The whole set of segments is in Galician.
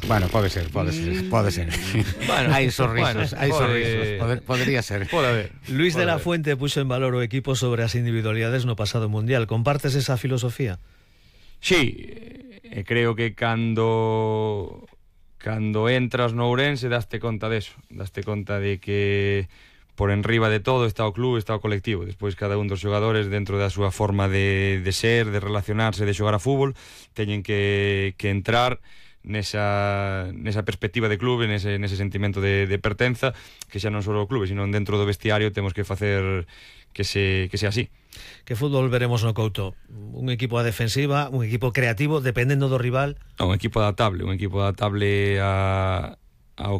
Bueno, pode ser. Bueno, hai sorrisos. Podría ser. Pode haber. Luis de la Fuente puxo en valor o equipo sobre as individualidades no pasado mundial. Compartes esa filosofía? Sí, creo que cando entras no Ourense daste conta deso, daste conta de que por enriba de todo está o clube, está o colectivo. Despois cada un dos xogadores dentro da súa forma de ser, de relacionarse, de xogar a fútbol, teñen que entrar nesa perspectiva de clube, nese sentimento de pertenza, que xa non só o clube, sino dentro do vestiario temos que facer que sea así. Que fútbol veremos no Couto? Un equipo a defensiva, un equipo creativo, dependendo do rival? Un equipo adaptable ao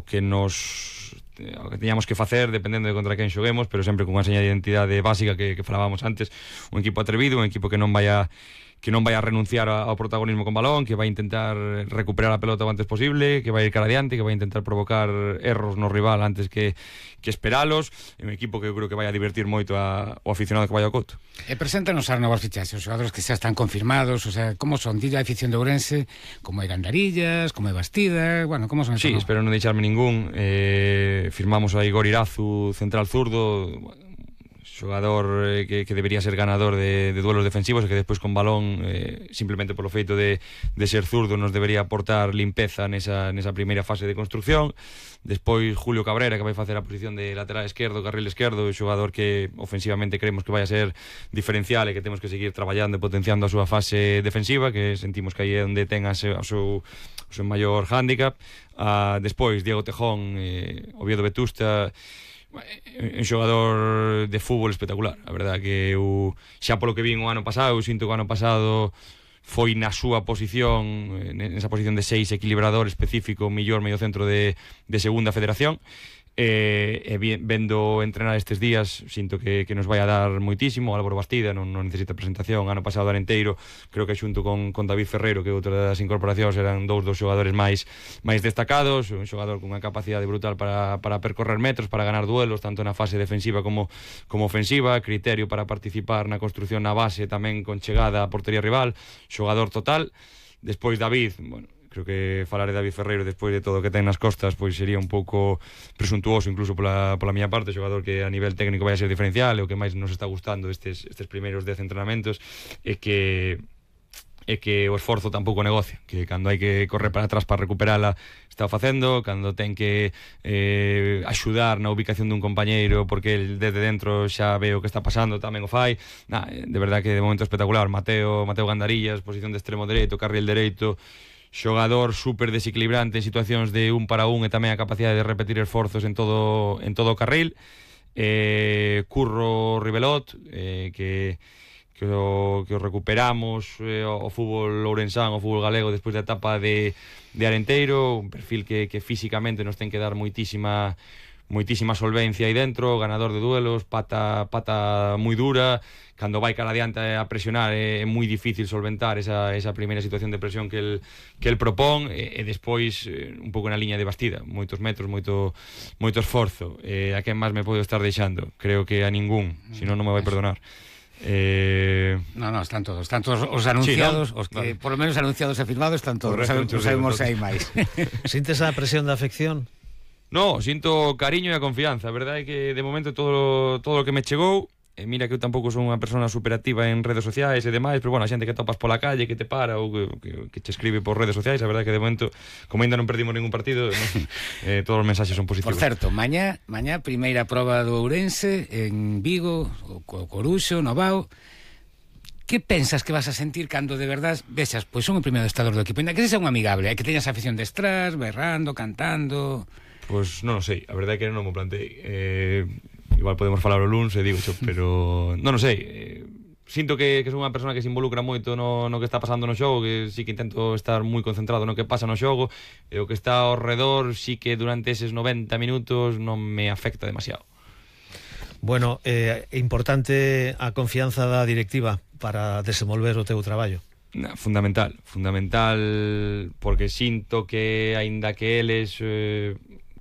que teñamos que facer dependendo de contra quen xoguemos, pero sempre con unha seña de identidade básica que falábamos antes. Un equipo atrevido, un equipo que non vai a renunciar ao protagonismo con balón, que vai intentar recuperar a pelota o antes posible, que vai ir cara adiante, que vai intentar provocar erros no rival antes que esperalos. É un equipo que eu creo que vai a divertir moito o aficionado que vai ao Couto. E preséntanos as novas fichaxes, os xogadores que xa están confirmados, o sea, como son? Dille a afición de Ourense, como é Gandarillas, como é Bastida, bueno, como son? Sí, espero non deixarme ningún. Firmamos a Igor Irazu, central zurdo, xogador que debería ser ganador de duelos defensivos e que despois con balón, simplemente polo feito de ser zurdo, nos debería aportar limpeza nesa primeira fase de construcción. Despois Julio Cabrera, que vai facer a posición de lateral esquerdo, carril esquerdo, xogador que ofensivamente creemos que vai a ser diferencial e que temos que seguir traballando e potenciando a súa fase defensiva, que sentimos que aí é onde ten o seu maior hándicap. Despois Diego Tejón, Oviedo Vetusta, un xogador de fútbol espectacular. A verdade que eu, xa polo que vin o ano pasado, eu sinto que o ano pasado foi na súa posición, nesa posición de 6 equilibrador específico, mellor medio centro de segunda federación. Vendo entrenar estes días, sinto que nos vai a dar moitísimo. Álvaro Bastida non necesita presentación. Ano pasado Arenteiro, creo que xunto con David Ferreiro, que outra das incorporacións, eran dous dos xogadores máis destacados. Un xogador con unha capacidade brutal para percorrer metros, para ganar duelos, tanto na fase defensiva como ofensiva. Criterio para participar na construción na base, tamén con chegada á portería rival. Xogador total. Despois David, bueno, creo que falar de David Ferreiro despois de todo o que ten nas costas pois sería un pouco presuntuoso incluso pola miña parte. Xogador que a nivel técnico vai a ser diferencial, e o que máis nos está gustando estes primeiros 10 entrenamentos é que o esforzo tampouco negocia, que cando hai que correr para atrás para recuperala está facendo, cando ten que axudar na ubicación dun compañeiro porque el desde dentro xa ve o que está pasando tamén o fai. De verdad que de momento espectacular. Mateo Gandarillas, posición de extremo dereito, carril dereito, xogador super desequilibrante en situacións de un para un, e tamén a capacidade de repetir esforzos en todo o carril. Curro Ribelot, que o recuperamos o fútbol ourensán, o fútbol galego despois da etapa de Arenteiro, un perfil que físicamente nos ten que dar moitísima solvencia aí dentro, ganador de duelos, pata moi dura. Cando vai cara adiante a presionar é moi difícil solventar esa primeira situación de presión que el propón, e despois un pouco na liña de Bastida, moitos metros, moito esforzo. A quen máis me podo estar deixando? Creo que a ningún, senón non me vai perdonar. No, están todos os anunciados, sí, ¿no? Os que por lo menos anunciados e firmados están todos. Sabemos se hai máis. Sintes a presión da afección? No, sinto cariño e a confianza. A verdade é que de momento todo o que me chegou, mira que eu tampouco son unha persona superactiva en redes sociais e demais, pero bueno, a xente que topas pola calle, que te para ou que te escribe por redes sociais, a verdade é que de momento, como ainda non perdimos ningún partido, todos os mensaxes son positivos. Por certo, mañá primeira proba do Ourense en Vigo, o Coruxo, no Vao. Que pensas que vas a sentir cando de verdade vexas, pois son o primeiro adestrador do equipo, ainda que sexa un amigable, que teñas afición detrás, berrando, cantando? Pois non o sei, a verdade é que non me plantei. Igual podemos falar o luns e digo xo, pero non o sei. Sinto que son unha persona que se involucra moito no que está pasando no xogo, que sí que intento estar moi concentrado no que pasa no xogo, e o que está ao redor sí que durante eses 90 minutos non me afecta demasiado. Bueno, importante a confianza da directiva para desenvolver o teu traballo. Fundamental, porque sinto que aínda que eles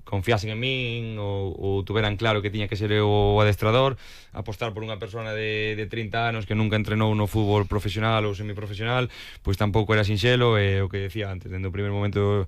confiasen en min ou tuveran claro que tiña que ser o adestrador, apostar por unha persona de 30 anos que nunca entrenou no fútbol profesional ou semiprofesional, pois tampouco era sinxelo. E o que decía antes, dende o primeiro momento